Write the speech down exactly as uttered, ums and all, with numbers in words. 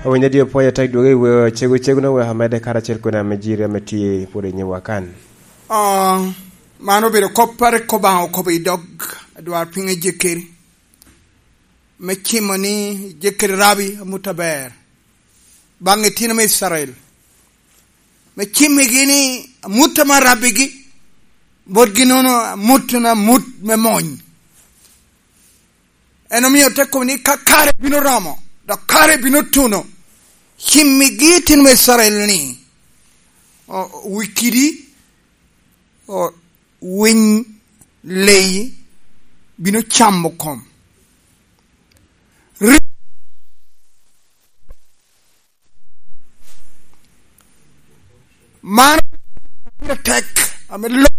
Awinyo dye pwoc atek dwogo i weo cego cego na weko amedde karacel kede ame jiri ame tye pwod i nyiwa kan. Ah, man obedo kop a rik Obaŋa okobo i dog adwarpiny Ejekeri, me cimo ni Ejekeri rabi amut aber baŋ itino me Icrael, me cimmigi ni amut ame arabbigi botgi nono amut na amut me mony. En omio te kobo ni ka kare bino romo, dok kare bino tuno, cimmigi itino me Icrael ni, o, wi kidi, o, winy leyi bino camo kom. Ri-, man pire tek, ame lo